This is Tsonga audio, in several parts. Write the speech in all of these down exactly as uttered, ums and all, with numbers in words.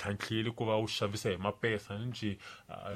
tlhantlhile ku va wu xavisa hi mapesa njhe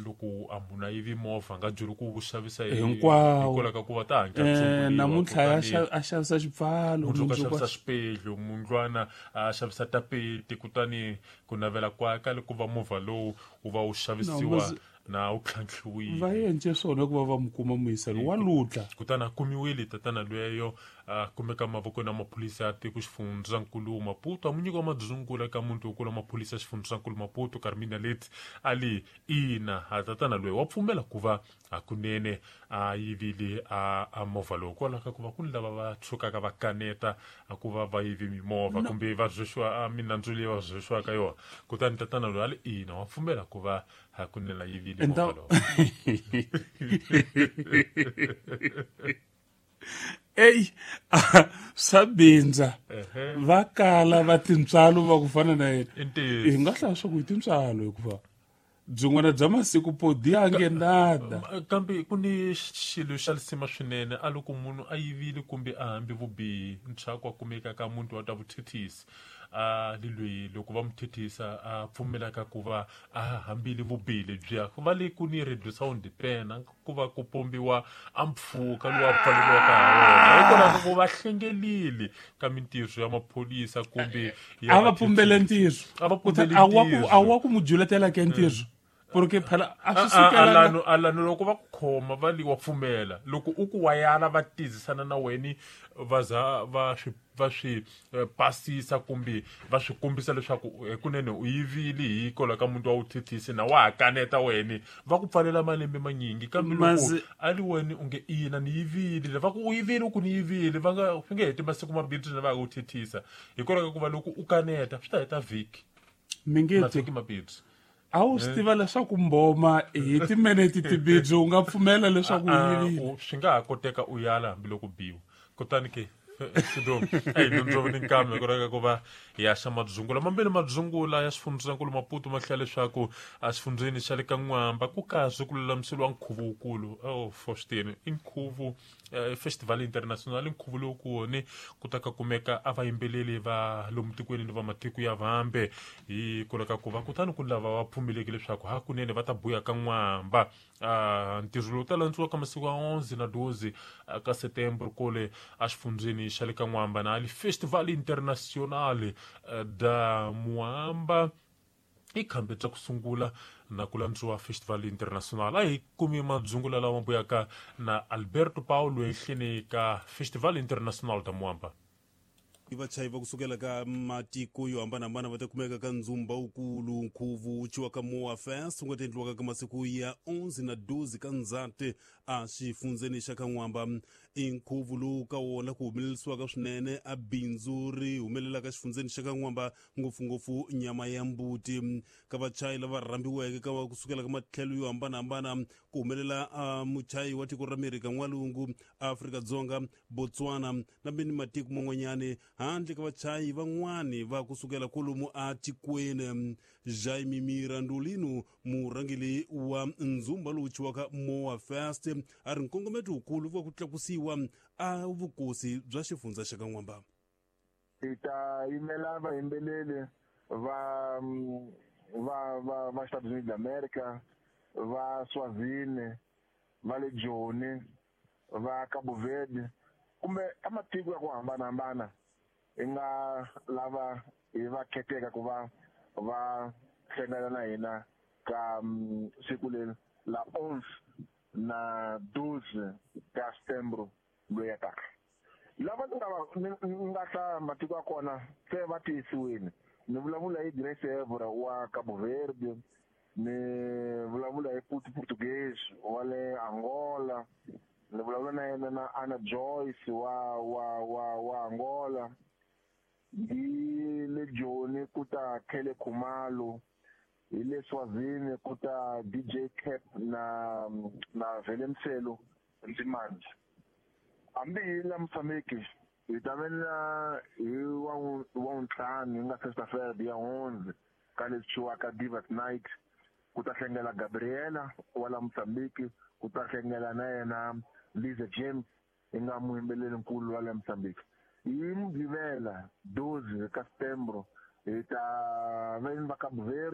loko a munhu a yivi movha a nga byeli ku wu xavisa hi Hinkwawo. hikwalaho ka ku va ta hatla Eh, namuntlha a kutani xa- a xavisa xipfalo mundzuku a mundzuku xavisa xipedlu mundlwana a xavisa tapeti kutani ku navela kwa ka le ku va movha lowu wu va wu xavisiwa No, na wu tlhantlhiwile va endle swona ku va va mu kuma muyiselo wa lutla kutani a kumiwile tatana lweyo a kumeka mavokweni ya maphorisa ya tiko xifundzankulu Maputo a mu nyika madzungula ka muti wokulu wa maphorisa ya xifundzankulu Maputo Carmina Leti a li ina a tatana loyi wa pfumela ku va hakunene a yivile a, a movha lowu kwalaho ka ku va ku ni lava va tshukaka va kaneta a ku va va yive mimovha kumbe va rhwexiwa a minandzu leyi va rhwexiwaka yona kutani tatana loyi a li ina wa pfumela ku va hakunene a yivile Enta- movha lowu eyi swa bindza va kala va tintswalo va ku fana na yena I ntiyiso. hi nga hlaya swa ku hi tintswalo hikuva byin'wana bya masiku podi a nge nada kambe ku ni xilo xa lisima swinene a loko munhu a yivile kumbe a hambi vubihi ntshaku a kumeka ka muti wa ta vuthethisi a li lweyi loko va mu thethisa a pfumelaka ku va a hambile vubihi lebyiya ku va le ku ni radio sound pena ku va ku pombiwa a mpfhuka lowu a pfaleriwaka ha wona hikwalaho ka ku va hlengelile ka mintirho ya maphorisa kumbe ya a va pumbele ntirho A va pumbele a wa ku ntirho. a wa ku mu juletela ke ntirho porque phela a swi A- a- sukelanga alano alano loko va ku khoma va li wa pfumela loko u ku wa yala va tizisana na weni va za va swi va swi eh, pasisa kumbe va swi kombisa leswaku hikunene u yivile hikwalaho ka muntu wa wu thethisi na wa ha kaneta weni va ku pfalela malembe manyingi kambe loko Mazi- a li weni u nge ina ni yivile va ku u yivile u ku ni yivile va nga swi nge heti masiku mambirhi ntsena va ya ku thethisa hikwalaho ka ku va loko u kaneta swi ta heta vhiki mi nge ti mavhiki mambirhi a wu swi tiva leswaku mboma hi timinete timbirhi u nga pfumela leswaku u Ah, yivile u- swi nga ha koteka u yala hambiloko biwa kutani ke sido eyi nondzovo ni nkambe ku reka ku va hi ya xa madzungula mambirhi madzungula ya xifundzankulu Maputo ma hlaya leswaku exifundzeni xa le ka N'wamba ku kahle ku lulamiseriwa nkhuvo wukulu oh Faustin i nkhuvo eh, festival international i nkhuvo lowu ku woni ku ta ka kumeka a vayimbeleri va lomu tikweni ni va matiko ya vambe hi kula ka ku va kutani ku ni lava va pfumeleki leswaku hakunene va ta buya ka N'wamba Ah, ntirho lowu ta landziwa ka masiku ya onze na doze ah, ka setembro kole exifundzeni xa le ka N'wamba na ali festival international eh, da Muamba i khambe bya ku sungula na ku landziwa festival international a hi kumi madzungula lawa buyaka na Alberto Paulo ehleni ka festival international da Muamba vachayi va kusukela ka matiko yo hambanahambana va ta kumeka ka ndzumba wukulu nkhuvo wu ciwa ka Moa Fest wu nga ta endliwaka ka masiku ya onze na doze ka Ndzati a xifundzeni xa ka N'wamba i nkhuvo lowu ka wona ku humelerisiwaka swinene a bindzu ri humelelaka xifundzeni xa ka N'wamba ngopfungopfu nyama ya mbuti ka vachayi lava rhambiweke ka va kusukela ka matlhelo yo hambanahambana ku humelela a muchayi wa tiko ra Amerika N'walungu Afrika-Dzonga Botswana na mini matiko man'wanyani handle ka vachayi van'wani va kusukela kwalomu a tikweni Jaime Mirandolino murhangeri wa ndzumba lowu ciwaka Moa Fest a ri nkongometo wukulu wa ku tlakusiwa a vukosi bya xifundza xa ka N'wamba hi ta yimela vayimbeleri va va va va Estados Unidos d'America va Swazini va le Joni va Cabo Verde kumbe ka matiko ya ku hambanahambana hi nga lava hi va kheteka ku va va hlangana na hina ka mm, siku leri la onze na doze ka setembro loyi ya taka lava ni nga va ni ni nga hlaya matiko ya kona se va tiyisiwile ni vulavula hi Grace Evora wa Cabo Verde ni vulavula hi Puti Portuguese wa le Angola ni vulavula na yena na Anna Joyce wa wa wa wa Angola hi le Joni ku ta Khele Khumalo hi le Swazini ku ta D J Cap na na Vele Mselo Nzimande hambi hi la Mozambique hi ta ve na hi wa wa ntlhanu hi nga sexta-feira ya onze ka leswi ciwaka Divas Night ku ta hlengela Gabriela wa la Mozambique ku ta hlengela na yena Liza James hi nga muyimbeleri nkulu wa la Mozambique hi Mugqivela doze ka setembro hi ta ve ni va Cabo Verde